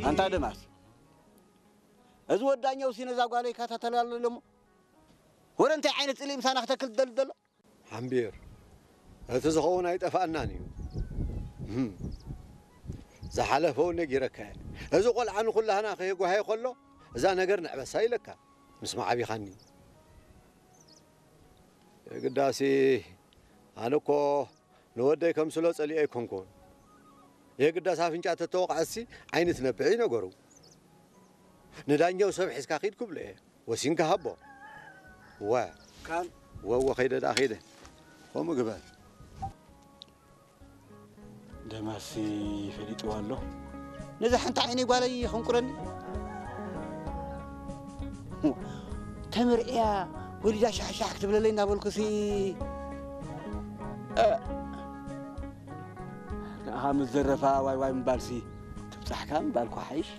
ኣንታ ደማስ፣ እዚ ወዳኛው ሲ ነዛ ጓለይ ይከታተላ ኣሎ ደሞ? ወረ እንታይ ዓይነት ጽልኢ ምሳና ክተክል ትደሊ ዘሎ? ሓምቢር፣ እቲ ዝኸውን ኣይጠፍኣናን እዩ። እህም። ዝሓለፈ እውን ነጊረካ እየ። እዚ ቆልዓ ንኹላህና ከየጓሃየ ከሎ፣ እዛ ነገር ንዕበሳ ኢለካ። ምስ መዓቢኻኒ። የግዳሲ፣ ኣነ እኮ ንወደይ ከምስሎ ጸሊኦ ኣይኮንኩን። የግዳስ ኣፍንጫ ተተወቕዐሲ ዓይኒ ትነብዕ እዩ ነገሩ። ንዳኛው ሰብ ሒዝካ ኺድ ክብሎ እየ። ወሲንካ ሃቦ። ወ። ካን? ወ፣ ወ፣ ኸይደ ደኣ ኸይደ። ከምኡ ግበር። ደማሲ ፈሊጥዋ ኣሎ። ነዛ ሓንቲ ዓይነይ ጓለይ የኸንቁረኒ። ተመርዕያ ወሊዳ ሻሕሻሕ ክትብለለይ እናበልኩሲ፣ እ፣ ንኣኻ ምስ ዘረፋ ዋይ ዋይ ምባልሲ ትብጻሕካ ምባልኩ ሓይሽ።